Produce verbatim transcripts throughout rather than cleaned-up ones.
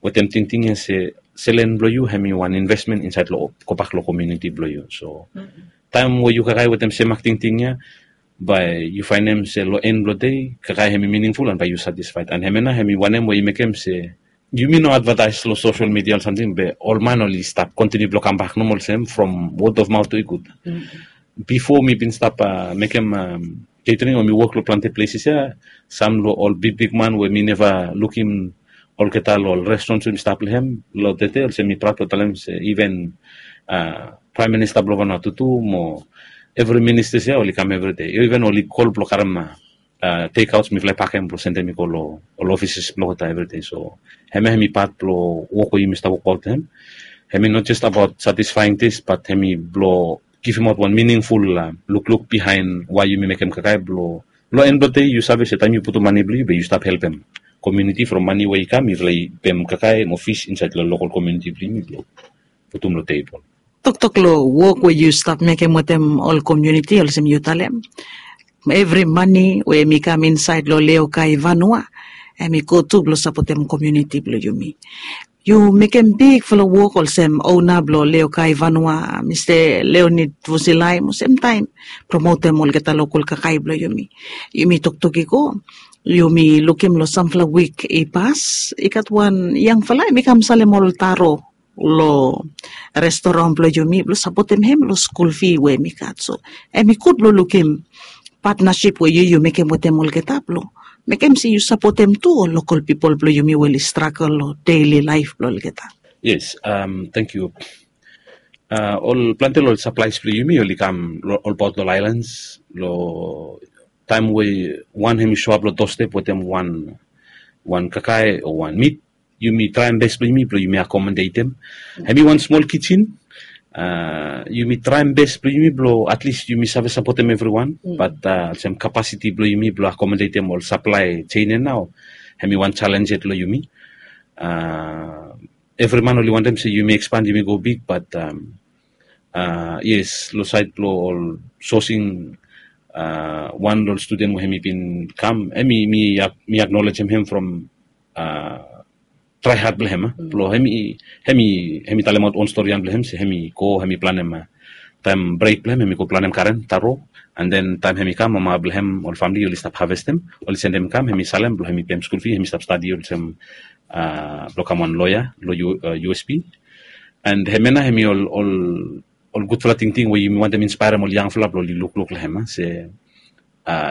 wetem tingting ya se selen blong yu hem i wan investment insaed long gobak long komuniti blong yu. So taem we yu kakae wetem semak tingting ya, bae yu faenem se long en blong dei kakae hem i miningful an bae yu satisfaed. An hemia nao hem i wanem we i mekem se yumi no advataes long sosel midia o samting be ol man oli stap kontiniu blong kambak nomo olsem from wod of maot tu i gud. Bifo mi bin stap mekem ketering o mi wok long plante pleses ya, sam long ol bigbigman we mi neva lukim olgeta long ol restrons we mi stap long hem long tete olsem mi praod blong talem se iven praem minista blong vanua tutu mo evri ministas ya oli kam evri dei, iven oli kol blong karem teikaots mifala i pakem blong sendem i go long ol ofises blong olgeta evri dei. So hemia hem i pat blong wok we yumi stap wokbaot hem. Hem i no jes abaot satisfaing tes bat hem i blong givimaot wan miningful lukluk bihaen wae yumi mekem kakae blong long en blong dei yu save se taem yu putum mane blong yu be yu stap helpem komuniti from mane we i kam mifala i pem kakae mo fis insaed long lokol komuniti blong yumi blong putum long tebol. Toktok long wok we yu stap mekem wetem ol komuniti olsem yu talem, evri mane we hem i kam insaed long leokai vanua hem i go tu blong sapotem komuniti blong yumi. Yu mekem bigfala wok olsem ona blong leokai vanua, mista leonid vusilai mo semtaem promotem olgeta lokol kakae blong yumi. Yumi toktok i go, yumi lukim long samfala wik i pas i gat wan yangfala hem i kam salem ol taro long restoran blong yumi blong sapotem hem long skul fi we hem i gat. So hem i gud blong lukim patnasip we yu yu mekem wetem olgeta blong mekem se yu sapotem tu ol lokol pipol blong yumi we oli stragel long deili laef blong olgeta. Yes, tangkiu. Ol plante long ol saplaes blong yumi oli kam olbaot long ol aelans long taem we wan hem i soap long dostep wetem wan wan kakae o wan mit, yumi traem bes blong yumi blong yumi akomodetem. Hem i wan smol kijen. Yumi traem bes blong yumi blong atlis yumi save sapotem evriwan, bat olsem kapasiti blong yumi blong akomodetem ol saplae jein ya nao hem i wan jalenj yet long yumi. Evri man oli wantem se yumi ekspand yumi go big, bat yes, long saed blong ol sosing wan long ol studen we hem i bin kam, hem i mi aknolejem hem from trae had blong hem blong hem i hem i hem i talemaot on storian blong hem se hem i go hem i planem taem brek blong hem hem i go planem karen taro. An den taem hem i kam mama blong hem ol famili oli stap havestem, oli sendem i kam hem i salem blong hem i pem skul fi hem i stap stadi olsem blong kam wan loea long usp. An hemia nao hem i ol ol ol gudfala tingting we yumi wantem inspaerem ol yangfala blong oli lukluk long hem se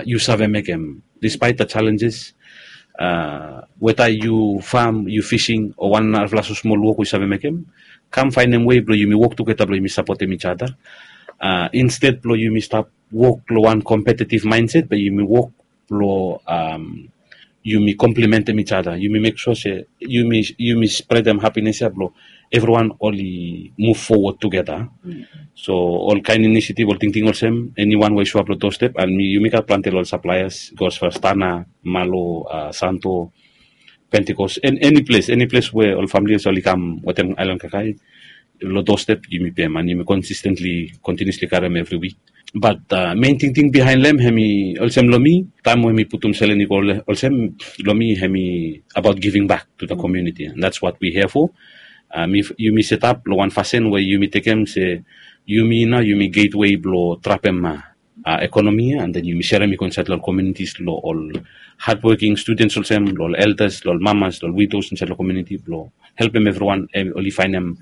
yu save mekem dispaet da jalenjes, weta yu fam, yu fising o wan narafala so smol wok we yu save mekem, kam faenem wei blong yumi wok tugeta blong yumi sapotem ijada. Insted blong yumi stap wok long wan kompetetiv maenset be yumi wok blong yumi komplimentem ijada, yumi mek sua se yumi spredem hapines ya blong evriwan oli muv fowod tugeta. So ol kaen inisiativ ol tingting olsem eniwan we i soap long dostep an yumi gat plante long ol saplaeas gos fastana, malo, santo, pentikos, eniples eniples we ol famili olsem oli kam wetem aelan kakae long dostep yumi pem an yumi konsistentli kontiniusli karem evri wik. Bat men tingting bihaen long hem hem i olsem long mi taem we mi putum selen i go olsem long mi hem i abaot giving bak tu da komuniti an dats wat wi hea fo. Yumi setap long wan fasin we yumi tekem se yumi nao yumi getwei blong trapem ekonomi ya an den yumi serem i go insaed long ol kominitis long ol hadwoking studens olsem long ol eldas long ol mamas long ol widos insaed long kominiti blong helpem evriwan oli faenem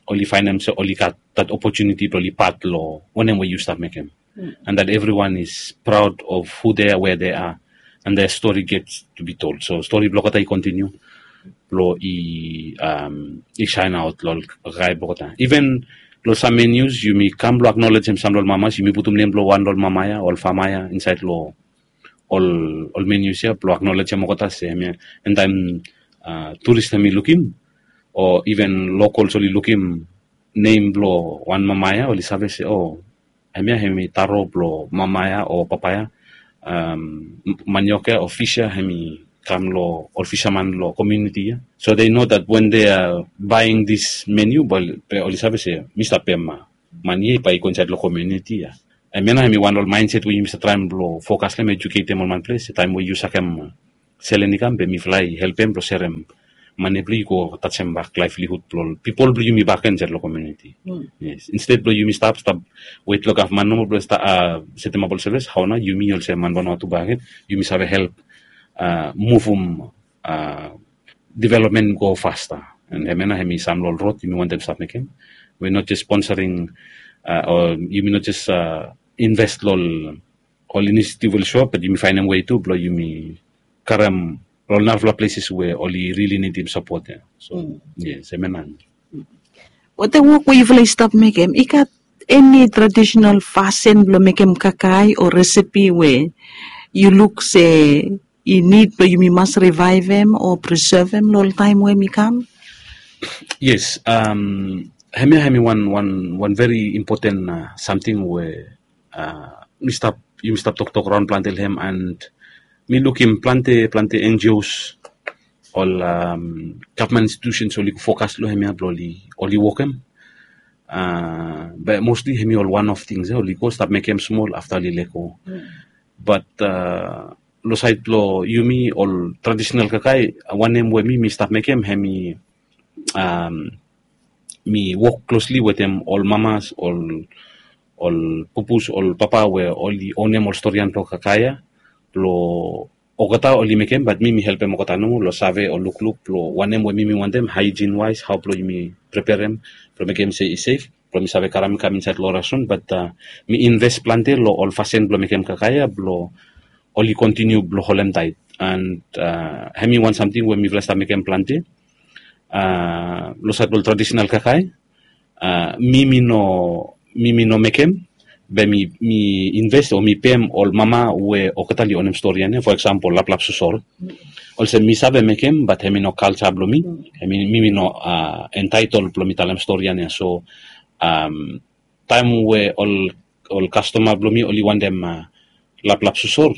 oli faenem se oli gat dat opotuniti blong oli pat long wanem we yu stap mekem. And that everyone is proud of who they are, where they are, and their story gets to be told. So stori blong olgeta i kontiniu blong i i saen aot long ol kakae blong olgeta. Iven long sam menus yumi kam blong aknolejem sam long ol mamas, yumi putum nem blong wan long ol mama ya, ol fama ya insaed long ol ol menus ya blong aknolejem olgeta se hemia. And taem turis hem i lukim o iven lokals oli lukim nem blong wan mama ya oli save se o hemia hem i taro blong mama ya o papa ya. Maniok ya o fis ya hem i kam long ol fisaman long komuniti ya. So they know that when they are buying this menu be oli save se mi stap pem mane ya i bae i go insaed long komuniti ya. Hemia nao hem i wan long ol maenset we yumi stap traem blong fokas long hem, ejuketem ol man ples taem we yu sakem selen i kam be mifala i helpem blong serem mane blong i go tajem bak laevlihud blong ol pipol blong yumi bakegen insait long komuniti. Yes, insted blong yumi stap stap wet long gavman nomo blong setemap ol sevis, hao nao yumi olsem man banua tu bakegen yumi save help muvum development go fasta. And hemia nao hemi sam long ol rod yumi wantem stap mekem. We not just sponsoring o yumi not just invest long ol initiative oli show up, but yumi faenem wei tu blong yumi karem long ol narafala places we oli rili nidim sapot ya. So yes, hemia nao. Wetem wok we yufala i stap mekem, i gat eni traditional fasin blong mekem kakae o resepi we yu luk se i nid blong yumi mas rivaevem o prisevem long ol taem we mi kam? Yes, hemia hemi wan wan wan veri impoten samting we mi stap yumi stap toktok raon plante long hem, and mi lukim plante plante N G Os, ol gavman institutions oli fokas long hemia blong oli wokem. Be mostli hemi ol wan of tings ya oli go stap mekem smol afta oli lego. Bat long saed blong yumi ol tradisinal kakae, wanem we mi mi stap mekem hemi mi wok klosli wetem ol mamas, ol ol pupus, ol papa we oli onem ol storian blong kakae ya blong olgeta oli mekem, bat mi mi helpem olgeta nomo long save o lukluk blong wanem we mi mi wantem, haejin waes, hao blong yumi preperem blong mekem se i sef blong mi save karem i kam insaed long orason. Bat mi inves plante long ol fasin blong mekem kakae ya blong oli kontiniu blong holem taet. And hemi wan samting we mifala i stap mekem plante long saed blong tradisinal kakae. Mi mi no mi mi no mekem, be mi mi inves o mi pem ol mama we olgeta oli onem storian ya, fo eksampol laplap sosor. Olsem mi save mekem, bat hemi no kalja blong mi. Hemi mi mi no entaetol blong mi talem storian ya. So taem we ol ol kastoma blong mi oli wantem laplap sosor,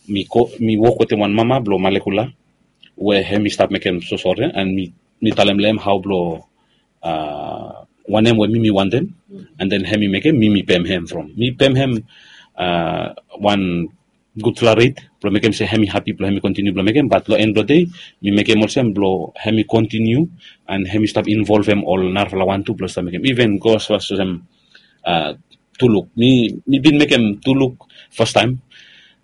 mi go mi wok wetem wan mama blong Malekula we hemi stap mekem sosor ya, and mi mi talem long hem hao blong wanem we mi mi wantem, and then hemi mekem, mi mi pem hem from mi pem hem wan gudfala ret blong mekem se hemi hapi blong hemi kontiniu blong mekem. Bat long en blong dei mi mekem olsem blong hemi kontiniu, and hemi stap involvem ol narafala wan tu blong stap mekem, iven go asfas olsem tuluk. Mi mi bin mekem tuluk fastaem.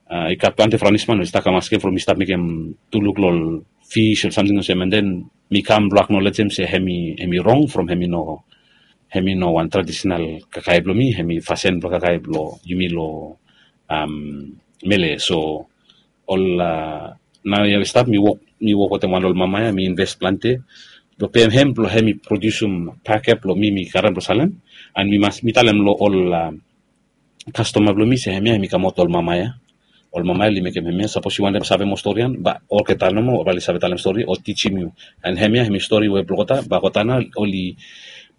I gat plante franisman we i stap kam askem from mi stap mekem tuluk long ol fis o samting olsem, and then mi kam blong aknolejem se hemi hemi rong from hemi no hemi no wan tradisinal kakae blong mi, hemi fasin blong kakae blong yumi long mele. So ol naoia we stap mi wok mi wok wetem wan ol mama ya, mi inves plante blong pem hem blong hemi prodiusum pakep blong mi mi karem blong salem. And mi mas mi talem long ol kastoma blong mi se hemia hemi kamaot long ol mama ya. Ol mama ya oli mekem hemia, sapos yu wantem save moa storian, bae olgeta nomo bae oli save talem stori o tijim yu. And hemia hemi stori we blong olgeta, bae olgeta nao oli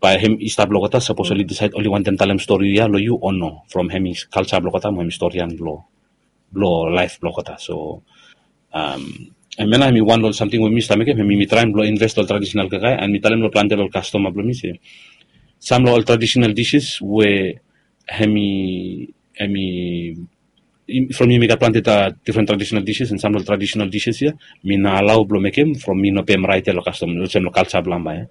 bae hem i stap long olgeta sapos oli disaed oli wantem talem stori ya long yu o no, from hemi kalja blong olgeta mo hemi storian blong blong laef blong olgeta. So hemia nao hemi wan long ol samting we mi stap mekem, hemi mi traem blong inves long ol tradisinal kakae, and mi talem long plante long ol kastoma blong mi se sam long ol tradisinal dises we hemi hemi from yumi gat plante difren tradisinal dises, and sam long ol tradisinal dises ya mi no alao blong mekem from mi no pem raet ya long kastom olsem long kalja blong mama ya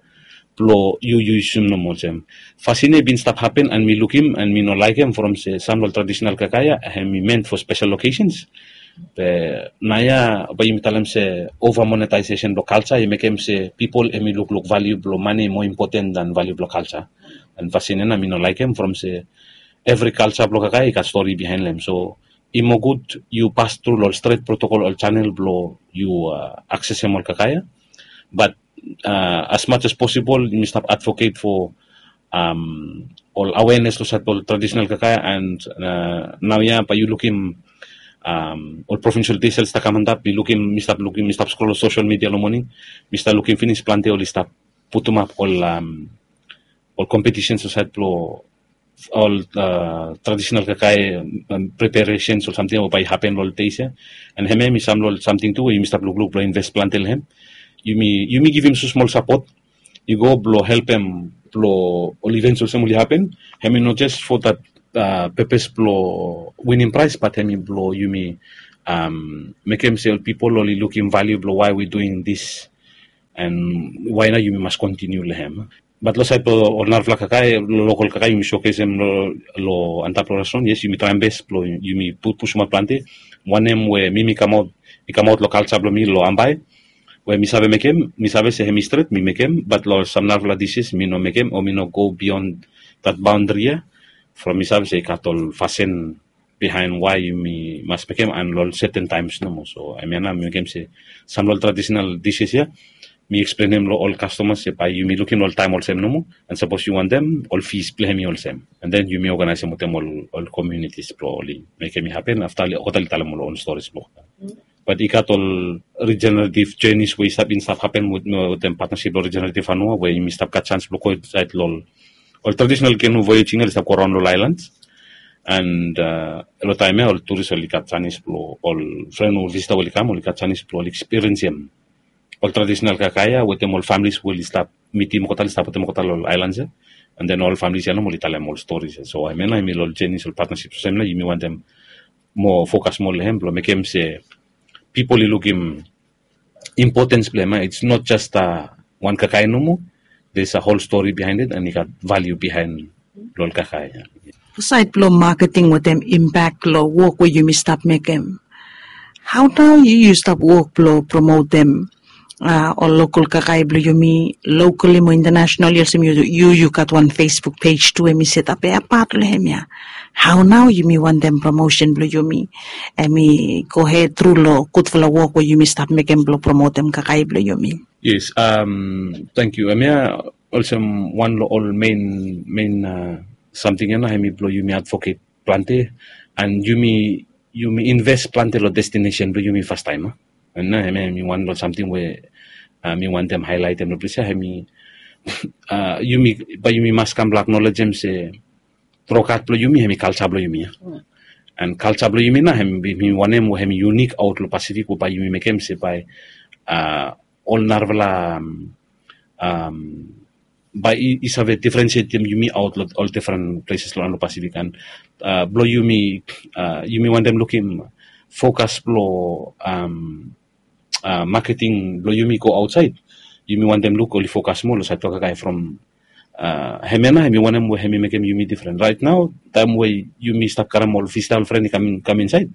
blong yu yu yusum nomo olsem. Fasin ya i bin stap hapen and mi lukim and mi no laekem from se sam long ol tradisinal kakae ya hemi ment fo spesel lokesens. Be naoia bae yumi talem se ova monetaesesen blong kalja i mekem se pipol hemi lukluk valiu blong mane i moa impoten dan valiu blong kalja. And fasin ya nao mi no laekem from se evri kalja blong kakae i gat stori bihaen long hem. So i moa gud yu pas tru long ol stret protokol ol janel blong yu aksesem ol kakae ya. Bat as mach as posibol yumi stap advoket fo ol awenes long saed blong ol tradisinal kakae. And naoia bae yu lukim ol provinsel desel stap kam antap, mi lukim mi stap lukim mi stap skrol long sosel midia long moning, mi stap lukim finis plante oli stap putumap ol ol kompetisens long saed blong ol tradisinal kakae preparesens o samting we bae i hapen long ol deis ya. And hemia hemi sam long ol samting tu we yumi stap lukluk blong inves plante long hem. Yumi yumi givim smosmol sapot i go blong helpem blong ol ivens olsem oli hapen. Hemi no jes fo dat pepes blong winim praes, bat hemi blong yumi um, mekem se ol pipol oli lukim valiu blong why we doing this, and why nao yumi mas kontiniu long hem. Bat long sait blong ol narafala kakae, lokal kakae, yumi showcasem long antap long restaurant, yes, yumi traem bes blong yumi pusumaot plante. Wanem we mi mi kamaot, i kamaot long kalsa blong mi long Ambae, we mi save mekem, mi save se hemi stret, mi mekem. Bat long sam narafala dishes mi no mekem, o mi no go beyond that boundary ia. From mi save se i gat ol fasin bihaen why yumi mas mekem and long certain times nomo. So hemia nao mi mekem se sam long ol traditional dishes ia, mi eksplenem long ol kastomas se bae yumi lukim long ol taem olsem nomo, and sapos yu wantem, ol fees blong hemi olsem. And then yumi organizem wetem ol, ol communities blong oli mekem i hapen. Afta oli, olgeta oli talem ol own stories blong. Bat i gat ol regenerative journeys we i stap, i stap hapen wetem partnership blong Regenerative Vanua, we yumi stap gat chance blong go insaed long ol traditional canoe voyaging ia oli stap go around long ol islands. And uh, long taem ia ol tourist oli gat chance blong, ol fren o visitor oli kam, oli gat chance blong oli experiencem ol traditional kakae ia wetem ol families we oli stap mitim olgeta, oli stap wetem olgeta long ol islands ia. And then ol families ia nomo oli talem ol stories ia. So hemia nao hemi long ol journeys, ol partnerships olsem nao yumi wantem moa focus moa long hem blong mekem se pipol i lukim importance blong hem ia. It's not just a wan kakae nomo. There's a whole story behind it, and i gat value behind long ol kakae ia. Saed blong marketing wetem impact long wok we yumi stap mekem, hao nao yu, yu stap wok blong promotem uh, ol lokal kakae blong yumi, locally mo internationally, olsem yu, yu, yu gat wan Facebook page tu, hemi setap ia pat long hemia. Hao nao yumi wantem promotion blong yumi, hemi go hed tru long gudfala wok we yumi stap mekem blong promotem kakae blong yumi? Yes, um, thank you. Hemia olsem wan long ol main, main uh, samting ia nao hemi blong yumi advocate plante, and yumi, yumi invest plante long destination blong yumi fastaem. And nao hemia hemi wan long samting we uh, mi wantem highlightem long ples ia, hemi uh, yumi, bae yumi mas kam blong acknowledgem se tru gat blong yumi hemi kalsa blong yumi ia. And kalsa blong yumi nao hemi, hemi wanem we hemi unique aot long Pacific, we bae yumi mekem se bae uh, ol narafala um, um, bae i, i save differentiatem yumi aot long ol different places long, long Pacific. And uh, blong yumi, uh, yumi wantem lukim focus blong um, uh, marketing blong yumi go aotsaed. Yumi wantem luk oli focus moa long saed blong kakae from uh, hemia nao hemi wanem we hemi mekem yumi different. Right nao, taem we yumi stap karem ol visitor, ol fren i kam in, kam insaed,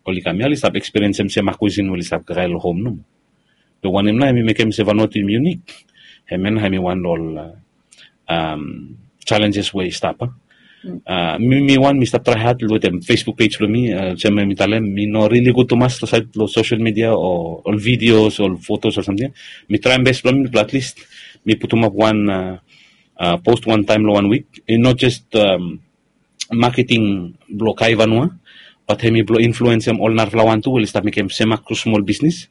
oli kam ia oli stap experiencem se ma cuisine we oli stap kakae long hom nomo. Be wanem nao hemi mekem se Vanuatu hemi unique? Hemia nao hemi wan long ol uh, um, challenges we i stap. Uh, mi, mi wan mi stap trae had wetem Facebook page blong mi, uh, olsem mi talem, mi no really gud tumas long saed long social media o ol videos, ol photos o samting. Mi traem bes blong mi blong at least mi putumap wan uh, uh, post wan taem long wan wik. And not just um, marketing blong kakae Vanua, bat hemi blong influensem ol narafala wan tu we oli stap mekem semak kru smol bisnis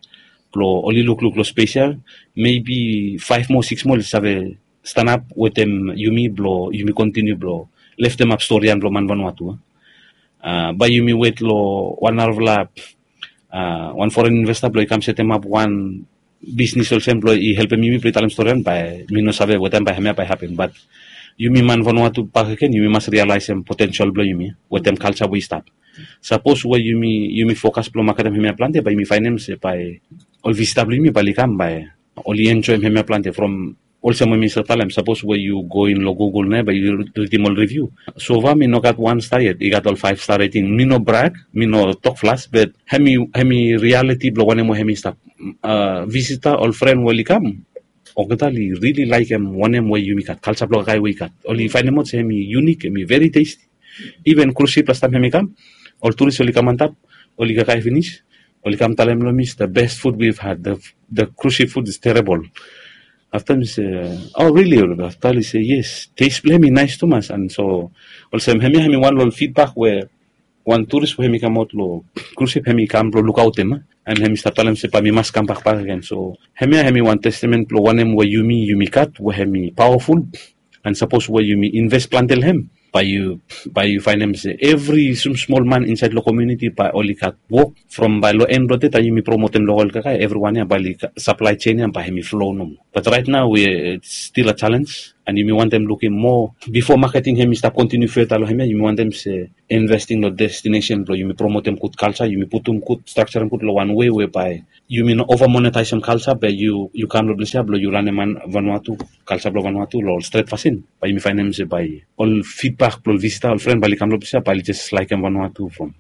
blong oli lukluk long spes ia. Maybe faef moa, sikis moa oli save stanap wetem yumi blong yumi kontiniu blong leftemap storian blong man Vanuatu. Uh, bae yumi wet long wan narafala uh, wan foren investor blong i kam setemap wan bisnis olsem blong i helpem yumi blong i talem storian, bae mi no save wetem bae hemia bae hapen. Bat yumi man Vanuatu bakegen, yumi mas realisem potential blong yumi wetem kalsa we i stap. Sapos we yumi, yumi focus blong maketem hemia plante, bae yumi faenem se bae ol visitor blong yumi bae oli kam, bae oli enjoem hemia plante from olsem we mi stap talem, sapos we yu go in long Google nao bae yu ridim ol review. So far mi no gat wan star yet, i gat ol five star rating. Mi no brag, mi no tok flas, but hemi, hemi reality blong wanem we hemi stap. Uh, visitor, ol fren we oli kam, olgeta oli really laekem wanem we yumi gat, kalsa blong kakae we i gat. Oli faenemaot se hemi unique, hemi very tasty. Even cruise ship last time hemi kam, ol tourist oli kam antap, oli kakae finis, oli kam talem long mi, the best food we've had, the, the cruise ship food is terrible. Afta mi se, oh really? Afta oli se yes, taste blong hemi nais tumas. And so olsem hemia hemi wan long ol feedback we wan tourist we hemi kamaot long cruise ship hemi kam blong lukaotem, and hemi stap talem se bae mi mas kambak bakegen. So hemia hemi wan testament blong wanem we yumi, yumi gat we hemi powerful. And sapos we yumi invest plante long hem, Bae yu bae yu faenem se evri smosmol man insaed long komuniti bae oli gat wok from bae long en blong de taem yumi promotem lokol kakae evriwan ya bae oli saplae sen ya bae hemi flo nomo. Bat raet nao we stil a jalens an yumi wantem lukim moa bifo maketing hemi stap kontiniu feta long hemia yumi wantem se investing long destinesen blong yumi promotem gud kalsa yumi putum gud strakjarem gud long wan wei we bae yumi no ova monetaisem kalsa be yu kam long ples ya blong yu lanem man vanua tu kalsa blong vanua tu long ol stret fasin bae yumi faenem se bae ol fidbak blong ol visita ol fren bae oli kam long ples ya bae oli jes laekem vanua tu from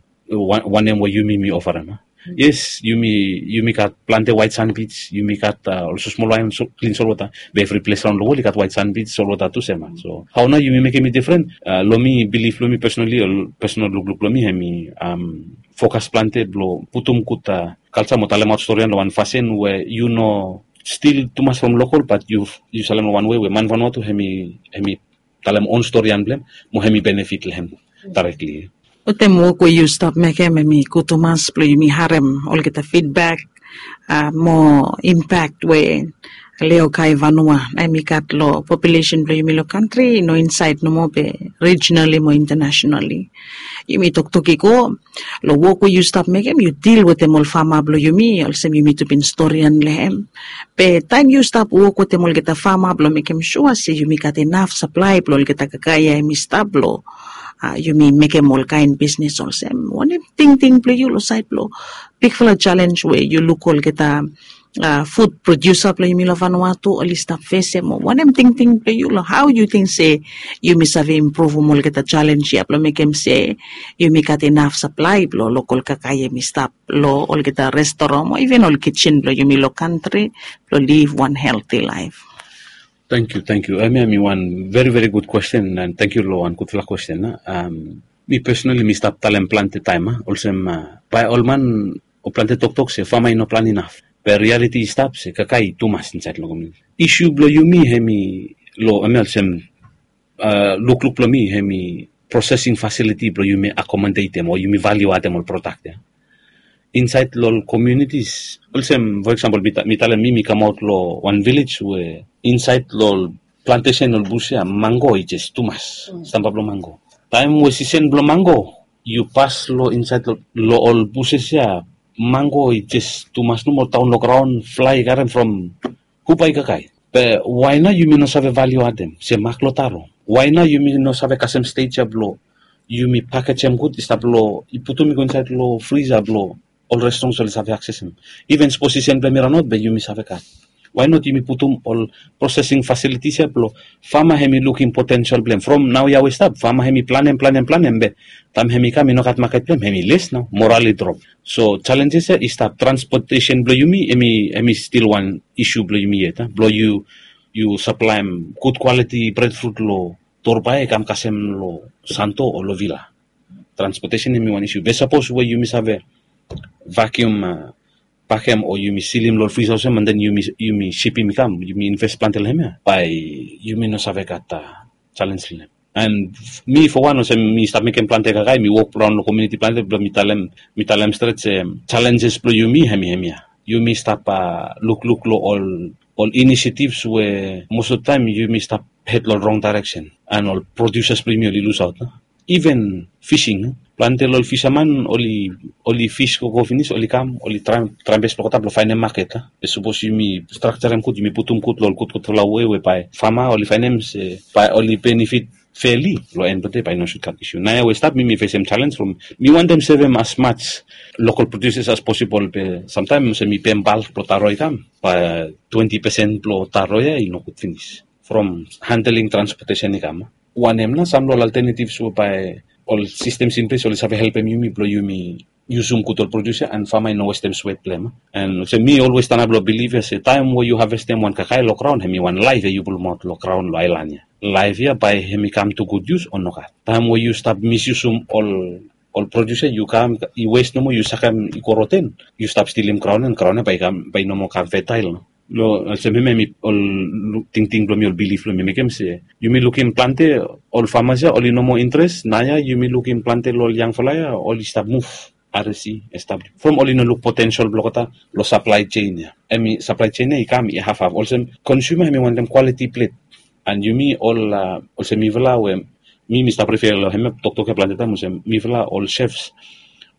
wanem we yumi mi ofarem a yes yumi yumi gat plante waet san bits yumi gat olsem smol waen klin solwota be evri ples raon long wol i gat waet san bits solwota tu sem a so hao nao yumi mekem i difren long mi bilif long mi pesonali ol pesonal lukluk long mi hemi fokas plante blong putum gud kalsa mo talemaot storian long wan fasin we yu no stil tumas from lokol bat yu salim long wan wei we man vanua tu hemi hemi talem on storian blong hem mo hemi benefit long hem darekli. Wetem wok we yu stap mekem hemi gud tumas blong yumi harem olgeta fidbak mo impak we leokai vanua na hemi gat long populesen blong yumi long kantri no insaed nomo be rijinali mo intanasenali. Yumi toktok i go long wok we yu stap mekem yu dil wetem ol fama blong yumi olsem yumi tu bin storian long hem be taem yu stap wok wetem olgeta fama blong mekem sua se yumi gat inaf saplae blong olgeta kakae ya hemi stap blong yumi mekem olkaen bisnes olsem wanem tingting blong yu long saed blong bigfala jalens we yu luk olgeta fut prodiusa blong yumi long vanua tu oli stap fesem o wanem tingting blong yu long hao yu ting se yumi save impruvum olgeta jalens ya blong mekem se yumi gat inaf saplae blong lokol kakae yumi stap long olgeta restoran o iven ol kijen blong yumi long kantri blong liv wan helti laef. Tangkiu tangkiu hemia hemi wan veri veri gud kwesten an tangkiu long wan gudfala kwesten a mi pesonali mi stap talem plante taem a olsem bae ol man o plante toktok se fama i no plan inaf be rialiti i stap se kakae i tumas insaed long komuniti isu blong yumi hemi long hemi olsem lukluk blong mi hemi prosesing fasiliti blong yumi akomodetem o yumi valiu adem ol prodak ya insaed long ol komunitis olsem fo eksampol mi talem mi mi kamaot long wan vilej we insaed long ol plantesen ol bus ya mango i jes tumas stamba blong mango taem we sisen blong mango yu pas long insaed long ol buses ya mango i jes tumas nomo taon long graon flae i karem from hupa i kakae be wae nao yumi no save valiu adem se mak long taro wae nao yumi no save kasem stej ya blong yumi pakejem gud i stap long i putum i go insaed long frisa blong ol restrons oli save aksesem iven sposisen blong hem i ranaot be yumi save gat wae not yumi putum ol prosesing fasilitis ya blong fama hemi lukim potensel blong hem from nao ya we stap fama hemi planem planem planem be taem hemi kam i no gat maket blong hem hemi les nao moral i drop so jalenjes ya i stap transpotesen blong yumi hemi stil wan isu blong yumi yet a blong yu yu saplaem gud kwaliti bredfrut long torbae i kam kasem long santo o long vila transpotesen hemi wan isu be sapos we yumi save vakium pakem o yumi silim long ol fris olsem an den yumi sipim i kam yumi inves plante long hem ya bae yumi no save gat jalens long hem an mi fo wan olsem mi stap mekem plante kakae mi wok raon long kominiti plante blong mi talem mi talem stret se jalenjes blong yumi hemi hemia yumi stap lukluk long ol ol inisiativs we mos of taem yumi stap hed long rong daereksen an ol prodiusas blong yumi oli lusaot iven fising plante long ol fisaman oli oli fis gogo finis oli kam oli traem traem bes blong olgeta blong faenem maket a be sapos yumi strakjarem gud yumi putum gud long ol gudgudfala wei we bae fama oli faenem se bae oli benefit feli long en blong de bae i no sud gat isu naoia we stap mi mi fesem jalens from mi wantem sevem as maj lokol prodiusas as posibol be samtaem olsem mi pem balk blong taro i kam bae twenti pesen blong taro ya i no gud finis from handeling transpotesen i kam wanem nao sam long ol alternativs we bae ol sistems in ples oli save helpem yumi blong yumi yusum gud ol produs ya an fama i no westem swet blong hem an olsem mi olwes stanap long bilif ya se taem we yu havestem wan kakae long graon hem i wan laef ya yu pulumaot long graon long aelan ya laef ya bae hem i kam tu gud yus o nogat taem we yu stap misyusum ol ol produs ya yu kam i wes nomo yu sakem i go roten yu stap stilim graon ya an graon ya bae i kam bae i no moa kam fetael nao long olsem hemia mi ol tingting blong mi ol bilif blong mi mekem se yumi lukim plante ol famas ya oli no moa interes naoia yumi lukim plante long ol yangfala ya oli stap muv aresi establis from oli no luk potensel blong olgeta long saplae sen ya hemi saplae sen ya i kam i hafhaf olsem konsuma hemi wantem kwaliti plet an yumi ol olsem mifala we Mi mi stap refer long hemia toktok ya plante taem olsem mifala ol chefs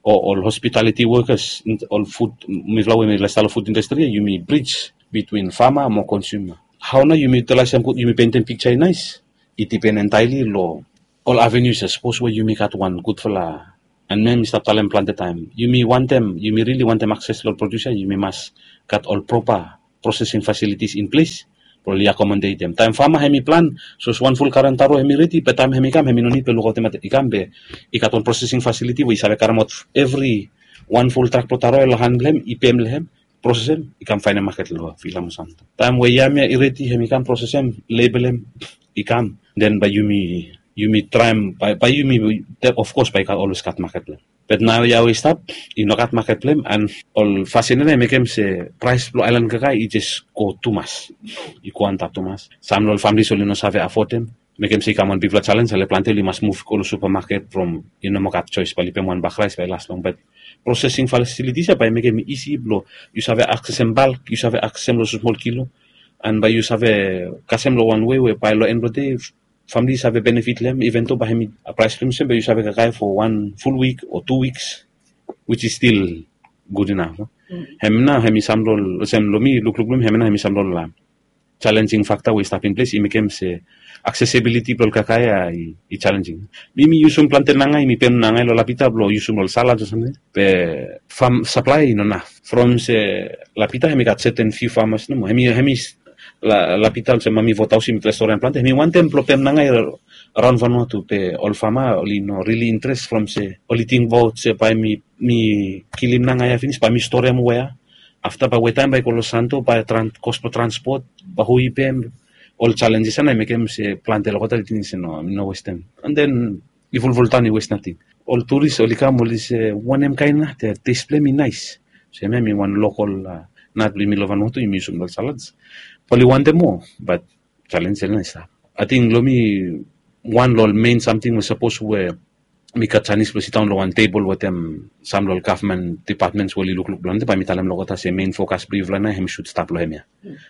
o ol hospitaliti wokas, ol fud, mifala we mifala stap long fud indastri ya, yumi brij bitwin fama mo konsuma. Hao nao yumi utilisim gud, yumi pentem piksa i naes? I dipen entaeli long ol avenues ya. Sapos we yumi gat wan gudfala, and mi mi stap talem plante taem, yumi wantem, yumi rili wantem akses long ol produsa, yumi mas gat ol propa processing facilities in ples blong oli akomodetem. Taem fama hem i plan, sapos wan ful karen taro hem i redi, be taem hem i kam hem i no nid blong lukaotem i kam, be i gat wan processing facility we i save karemaot evri wan ful trak blong taro ya long han blong hem, i pem long hem, prosesem, i kam faenem maket long Vila mo Santo. Taem we yam ya i redi, hem i kam prosesem, lebelem, i kam, den bae yumi, yumi traem, bae, bae yumi, of kos bae i gat, olwes gat maket blong hem. Be naoia we i stap, i no gat maket blong hem, and ol fasin ya nao i mekem se praes blong aelan kakae i jes go tumas. I go antap tumas. Sam long ol famili oli no save afodem. Mekem se i kam wan bigfala jalenj, ale plante oli mas muv go long supamaket from i no moa gat joes, bae oli pem wan bak raes bae i las long. Be prosesing fasilitis ya bae i mekem i isi blong yu save aksesem balk, yu save aksesem long smol kilo, and bae yu save kasem long wan wei we bae long en blong dei famili i save benefit long hem, iven do bae hem i, praes blong hem olsem be yu save kakae fo wan ful wik o tu wiks, which is still good enough. Hem nao hem i sam long ol, olsem long mi lukluk blong mi, hem nao hem i sam long ol jalenjing fakta we i stap in ples, i mekem se aksesibiliti blong ol kakae ya i jalenjing. Mi mi yusum plante nangae, mi pem nangae long Lapita blong yusum long ol salad o samting. Be fam saplae i no naf. From se Lapita hem i gat seten fiu famas nomo. Hem i, hem i, Lapita olsem Mami Vothaus i mi trai storian plante, hem i wantem blong pem nangae raon Vanuatu, be ol fama oli no rili interes from se oli tingbaot se bae mi, mi kilim nangae ya finis bae mi storiam wea. Afta bae wetaem bae i go long Santo, bae kos blong transpot, bae hu i pem, ol jalenjes ya nao i mekem se plante olgeta oli ting se no, mi no westem. And then i fulful taon i wes nating. Ol turis oli kam oli se wanem kaen nat ya, tes blong hem i naes. Se hemia hem i wan lokol nat blong yumi long Vanuatu, yumi yusum long ol salads. Be oli wantem moa, bat jalenj ya nao i stap. Ating long mi, wan long ol mein samting we sapos we mi gat janis blong sidaon long wan tebol wetem sam long ol gavman dipatmens we oli lukluk blong hem, bae mi talem long olgeta se mein fokas blong yufala nao hem i sud stap long hemia.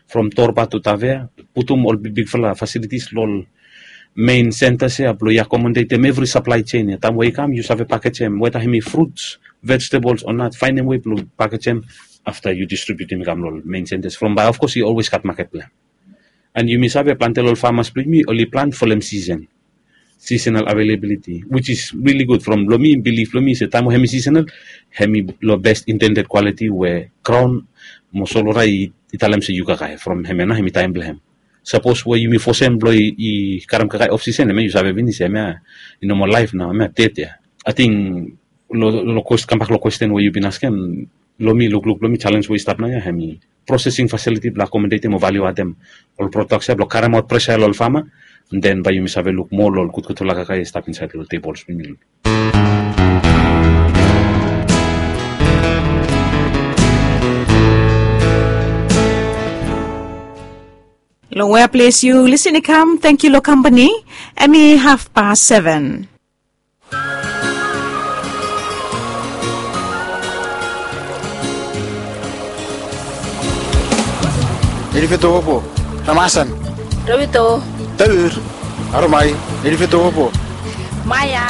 From Torba tu Tavea, putum ol bigbigfala fasilitis long ol mein sentas ya blong i akomodetem evri saplae jein ya. Taem we i kam yu save pakejem, weta hem i fruts, vejetabols o nat, faenem wei blong pakejem, afta yu distribiutim i kam long ol mein sentas. From bae of kos i olwes gat maket blong hem. And yumi save plante long ol famas blong yumi oli plan folem sisen, seasonal availability, which is really good. From long mi bilif blong mi se taem we hem i seasonal, hem i long best intended quality we graon mo solwota i talem se yu kakae. From hemia nao hem i taem blong hem. Sapos we yumi fosem blong i karem kakae of season, hemia yu save finis hemia i no moa laef nao, hemia ded ya. Ating long, long kambak long kwesten we yu bin askem, long mi lukluk blong mi jalenj we i stap naoia hem i prosesing fasiliti blong akomodetem o valiu atem ol prodaks ya blong karemaot presa ya long ol fama. Den bae yumi save luk moa long ol gudgudfala kakae i stap insaed long ol tebols blong yumi. Long wea ples yu lisin i kam, tangkiu long kampani. Hem i hafpas seven. Elifeto opo. Ramasan. Rawito. Taur. Aromai. Elifeto opo. Maya.